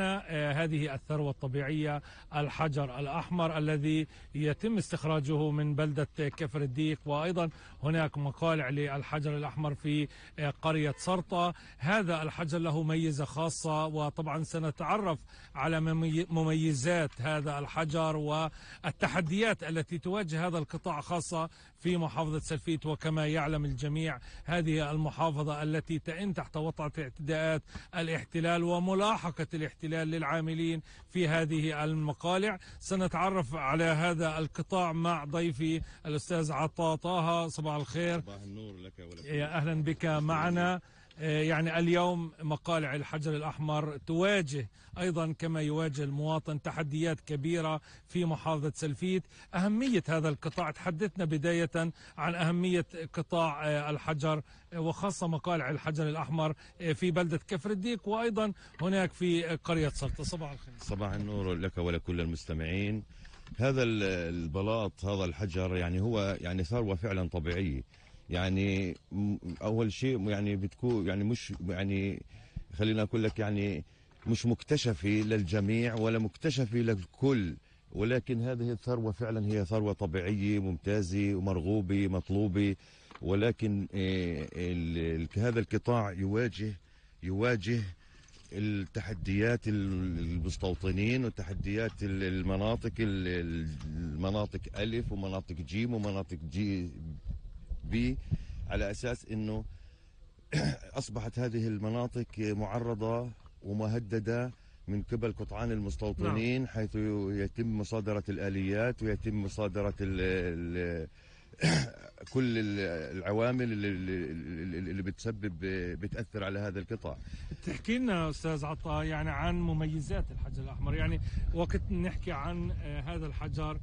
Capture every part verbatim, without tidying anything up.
هذه الثروة الطبيعية الحجر الأحمر الذي يتم استخراجه من بلدة كفر الديك، وأيضا هناك مقالع للحجر الأحمر في قرية سرطة. هذا الحجر له ميزة خاصة، وطبعا سنتعرف على مميزات هذا الحجر والتحديات التي تواجه هذا القطاع خاصة في محافظة سلفيت. وكما يعلم الجميع هذه المحافظة التي تئن تحت وطأة اعتداءات الاحتلال وملاحقة الاحتلال للعاملين في هذه المقالع. سنتعرف على هذا القطاع مع ضيفي الأستاذ عطا طه. صباح الخير. صباح النور لك ولك. يا أهلا بك معنا. يعني اليوم مقالع الحجر الأحمر تواجه أيضا كما يواجه المواطن تحديات كبيرة في محافظة سلفيت. أهمية هذا القطاع، تحدثنا بداية عن أهمية قطاع الحجر وخاصة مقالع الحجر الأحمر في بلدة كفر الديك وأيضا هناك في قرية سلطة. صباح الخير. صباح النور لك ولكل المستمعين. هذا البلاط، هذا الحجر يعني هو يعني ثروة فعلا طبيعية. يعني اول شيء يعني بتكون يعني مش يعني خلينا اقول لك يعني مش مكتشفه للجميع ولا مكتشفه للكل، ولكن هذه الثروه فعلا هي ثروه طبيعيه ممتازه ومرغوبه مطلوبه. ولكن هذا القطاع يواجه يواجه التحديات المستوطنين وتحديات المناطق المناطق ألف ومناطق جيم ومناطق جي بي، على أساس أنه أصبحت هذه المناطق معرضة ومهددة من قبل قطعان المستوطنين. نعم. حيث يتم مصادرة الآليات ويتم مصادرة ال ال كل العوامل اللي, اللي بتسبب بتأثر على هذا القطاع. تحكي لنا أستاذ عطا يعني عن مميزات الحجر الأحمر، يعني وقت نحكي عن هذا الحجر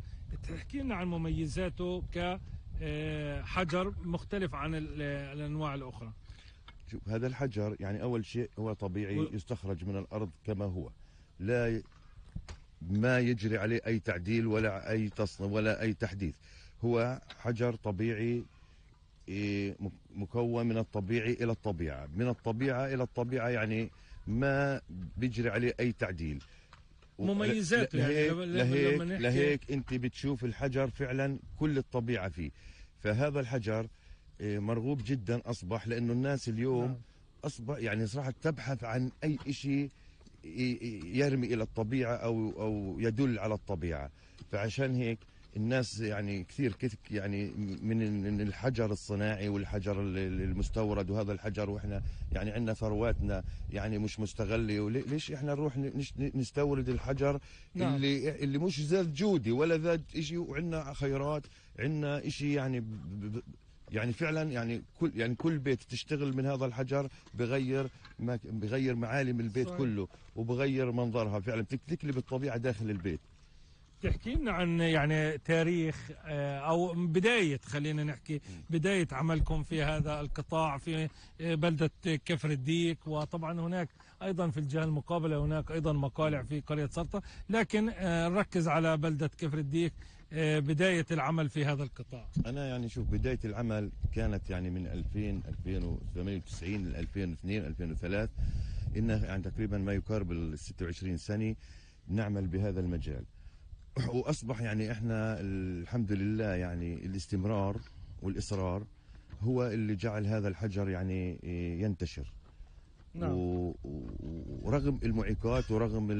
تحكي لنا عن مميزاته ك حجر مختلف عن الأنواع الأخرى. شوف، هذا الحجر يعني أول شيء هو طبيعي و... يستخرج من الأرض كما هو، لا ي... ما يجري عليه أي تعديل ولا أي تصنيع ولا أي تحديث. هو حجر طبيعي مكون من الطبيعي إلى الطبيعة، من الطبيعة إلى الطبيعة، يعني ما بيجري عليه أي تعديل. مميزاته يعني لهيك, لهيك, لهيك انت بتشوف الحجر فعلا كل الطبيعة فيه. فهذا الحجر مرغوب جدا أصبح، لأنه الناس اليوم نعم. أصبح يعني صراحة تبحث عن أي شيء يرمي إلى الطبيعة أو أو يدل على الطبيعة. فعشان هيك الناس يعني كثير يعني من الحجر الصناعي والحجر المستورد وهذا الحجر، واحنا يعني عندنا ثرواتنا يعني مش مستغله. ليش احنا نروح نستورد الحجر نعم. اللي اللي مش ذات جودة ولا ذات شيء، وعندنا خيرات، عندنا شيء يعني يعني فعلا يعني كل يعني كل بيت تشتغل من هذا الحجر بغير ما بغير معالم البيت صحيح. كله وبغير منظرها، فعلا تقلب الطبيعة داخل البيت. تحكي لنا عن يعني تاريخ أو بداية، خلينا نحكي بداية عملكم في هذا القطاع في بلدة كفر الديك، وطبعا هناك أيضا في الجهة المقابلة هناك أيضا مقالع في قرية سرطة، لكن نركز على بلدة كفر الديك. بداية العمل في هذا القطاع. أنا يعني شوف، بداية العمل كانت يعني من ألفين ألفين وثمانية وتسعين ل ألفين واثنين ألفين وثلاثة، إنه يعني تقريبا ما يقارب ال ستة وعشرين سنة نعمل بهذا المجال. وأصبح يعني إحنا الحمد لله يعني الاستمرار والإصرار هو اللي جعل هذا الحجر يعني ينتشر. نعم. ورغم المعيقات ورغم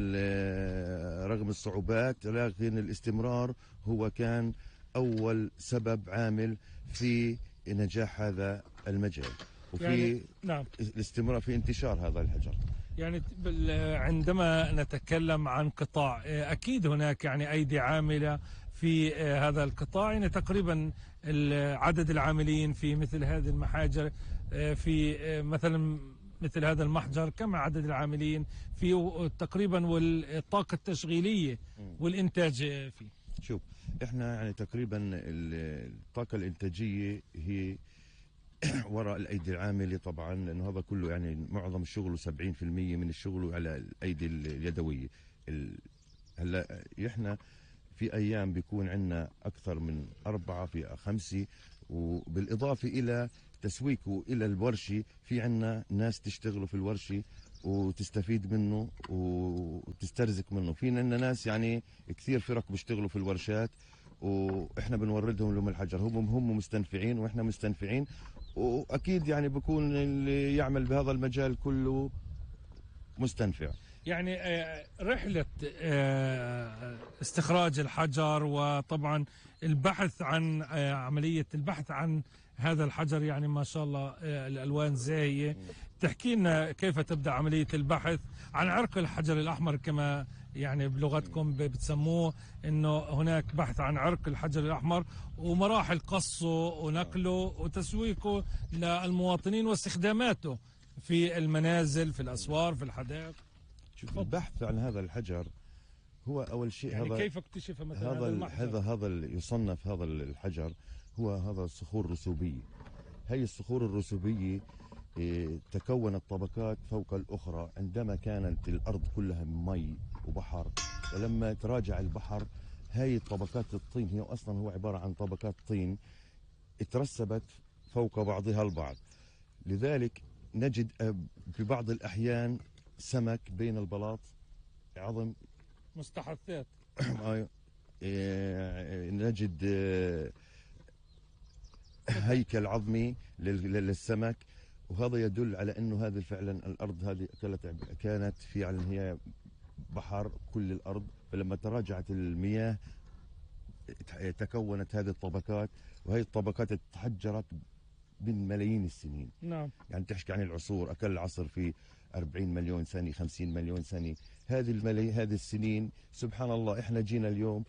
رغم الصعوبات، لكن الاستمرار هو كان أول سبب عامل في نجاح هذا المجال وفي يعني نعم. الاستمرار في انتشار هذا الحجر. يعني عندما نتكلم عن قطاع أكيد هناك يعني أيدي عاملة في هذا القطاع، يعني تقريبا عدد العاملين في مثل هذه المحاجر في مثلا مثل هذا المحجر، كم عدد العاملين فيه تقريبا والطاقة التشغيلية والإنتاج فيه؟ شوف، احنا يعني تقريبا الطاقة الإنتاجية هي وراء الأيدي العاملة طبعا، لأنه هذا كله يعني معظم الشغل سبعين بالمئة من الشغل على الأيدي اليدوية. هلا احنا في أيام بيكون عندنا أكثر من أربعة في خمسة، وبالإضافة إلى تسويقه إلى الورشة في عنا ناس تشتغلوا في الورشة وتستفيد منه وتسترزق منه. في عندنا ناس يعني كثير فرق بيشتغلوا في الورشات واحنا بنوردهم لهم الحجر، هم هم مستنفعين واحنا مستنفعين، واكيد يعني بكون اللي يعمل بهذا المجال كله مستنفع. يعني رحلة استخراج الحجر وطبعا البحث عن عملية البحث عن هذا الحجر، يعني ما شاء الله الألوان زاهية. تحكي لنا كيف تبدأ عملية البحث عن عرق الحجر الأحمر كما يعني بلغتكم بتسموه، انه هناك بحث عن عرق الحجر الأحمر ومراحل قصه ونقله وتسويقه للمواطنين واستخداماته في المنازل، في الأسوار، في الحدائق. شوف، البحث عن هذا الحجر هو أول شيء يعني هذا كيف اكتشف مثلا هذا هذا هذا هذا يصنف هذا الحجر هو هذا الصخور الرسوبية. هي الصخور الرسوبية إيه تكونت طبقات فوق الأخرى عندما كانت الأرض كلها مي وبحر، ولما تراجع البحر هاي طبقات الطين، هي أصلا هو عبارة عن طبقات طين اترسبت فوق بعضها البعض. لذلك نجد في بعض الأحيان سمك بين البلاط، عظم مستحثات نجد هيكل عظمي للسمك، وهذا يدل على انه هذه فعلا الارض هذه كانت فعلا هي بحر كل الارض، فلما تراجعت المياه تكونت هذه الطبقات، وهي الطبقات تحجرت من ملايين السنين. نعم. يعني تحكي عن العصور، اكل عصر في أربعين مليون سنه، خمسين مليون سنه، هذه الملايين هذه السنين سبحان الله احنا جينا اليوم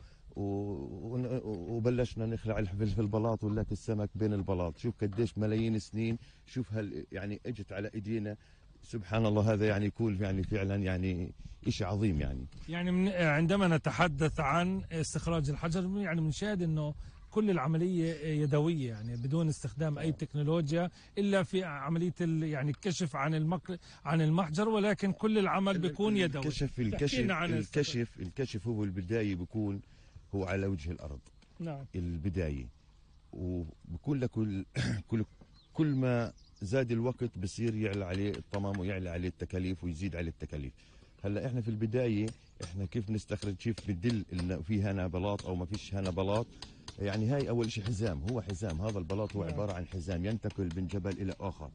وبلشنا نخلع في البلاط ولات السمك بين البلاط. شوف قديش ملايين السنين، شوف هل يعني اجت على ايدينا، سبحان الله. هذا يعني يكون يعني فعلا يعني شيء عظيم. يعني يعني من عندما نتحدث عن استخراج الحجر يعني بنشاهد انه كل العملية يدوية، يعني بدون استخدام أي تكنولوجيا إلا في عملية يعني الكشف عن المك... عن المحجر، ولكن كل العمل بيكون يدوي. الكشف الكشف الكشف الكشف هو البداية بيكون هو على وجه الأرض. نعم. البداية، وبكون لكل كل كل ما زاد الوقت بصير يعلى عليه الطمام ويعلى عليه التكاليف ويزيد عليه التكاليف. هلا احنا في البداية احنا كيف نستخرج، كيف بدل انه في هنا بلاط او ما فيش هنا بلاط. يعني هاي اول شيء حزام، هو حزام، هذا البلاط هو عباره عن حزام ينتقل من جبل الى اخر،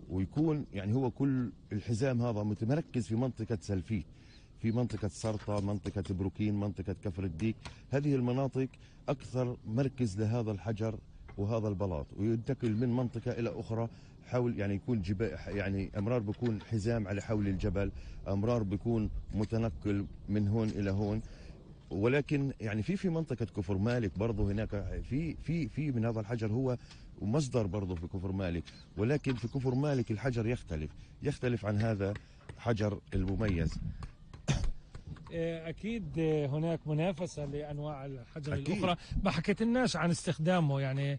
ويكون يعني هو كل الحزام هذا متمركز في منطقه سلفيت، في منطقه سرطه، منطقه بروكين، منطقه كفر الديك. هذه المناطق اكثر مركز لهذا الحجر وهذا البلاط، وينتقل من منطقه الى اخرى حول، يعني يكون جبال، يعني امرار بيكون حزام على حول الجبل، امرار بيكون متنقل من هون الى هون. ولكن يعني في في منطقه كفر مالك برضه هناك في في في من هذا الحجر هو مصدر برضه في كفر مالك، ولكن في كفر مالك الحجر يختلف يختلف عن هذا الحجر المميز. اكيد هناك منافسه لانواع الحجر أكيد. الاخرى، ما حكيتلناش عن استخدامه، يعني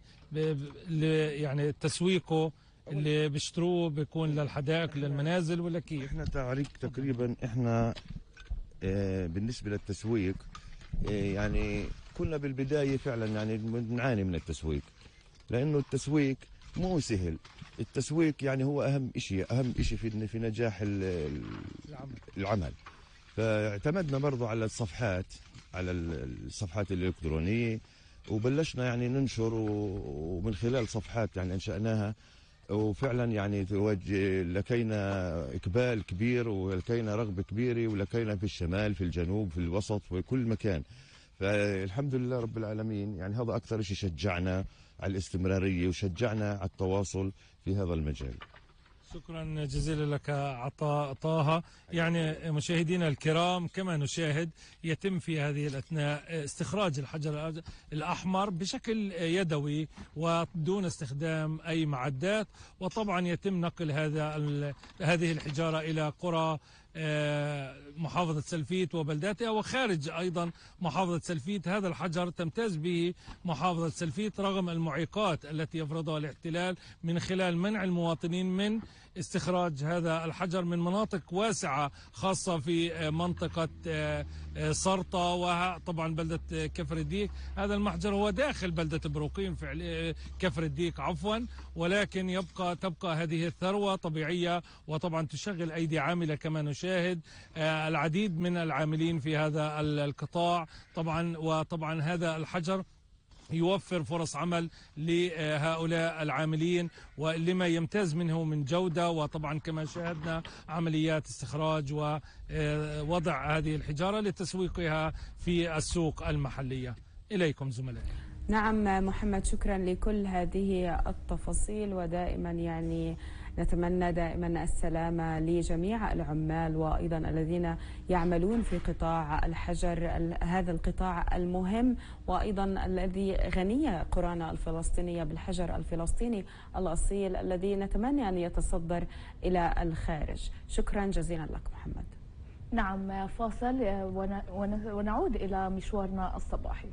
يعني تسويقه اللي بيشتروه بيكون للحدائق للمنازل ولا كيف؟ احنا تعريق تقريبا احنا اه بالنسبه للتسويق اه يعني كنا بالبدايه فعلا يعني بنعاني من التسويق، لانه التسويق مو سهل. التسويق يعني هو اهم شيء، اهم شيء في في نجاح العمل. العمل فاعتمدنا برضو على الصفحات، على الصفحات الالكترونيه، وبلشنا يعني ننشر، ومن خلال صفحات يعني انشاناها، وفعلا يعني لكينا اقبال كبير ولكينا رغبه كبيره، ولكينا في الشمال، في الجنوب، في الوسط، في كل مكان. فالحمد لله رب العالمين. يعني هذا اكثر شيء شجعنا على الاستمراريه وشجعنا على التواصل في هذا المجال. شكرا جزيلا لك عطاء طه. يعني مشاهدينا الكرام، كما نشاهد يتم في هذه الأثناء استخراج الحجر الأحمر بشكل يدوي ودون استخدام أي معدات، وطبعا يتم نقل هذا هذه الحجارة إلى قرى محافظة سلفيت وبلداتها وخارج أيضا محافظة سلفيت. هذا الحجر تمتاز به محافظة سلفيت رغم المعيقات التي يفرضها الاحتلال من خلال منع المواطنين من استخراج هذا الحجر من مناطق واسعة خاصة في منطقة سرطة وطبعا بلدة كفر الديك. هذا المحجر هو داخل بلدة بروقيم في كفر الديك عفوا، ولكن يبقى تبقى هذه الثروة طبيعية، وطبعا تشغل أيدي عاملة كما نشاهد، العديد من العاملين في هذا القطاع طبعا. وطبعا هذا الحجر يوفر فرص عمل لهؤلاء العاملين ولما يمتاز منه من جودة، وطبعا كما شاهدنا عمليات استخراج ووضع هذه الحجارة لتسويقها في السوق المحلية. إليكم زملائي. نعم محمد، شكرا لكل هذه التفاصيل، ودائما يعني نتمنى دائما السلامة لجميع العمال وأيضا الذين يعملون في قطاع الحجر، هذا القطاع المهم وأيضا الذي غنية قرانا الفلسطينية بالحجر الفلسطيني الأصيل الذي نتمنى أن يتصدر إلى الخارج. شكرا جزيلا لك محمد. نعم، فاصل ونعود إلى مشوارنا الصباحي.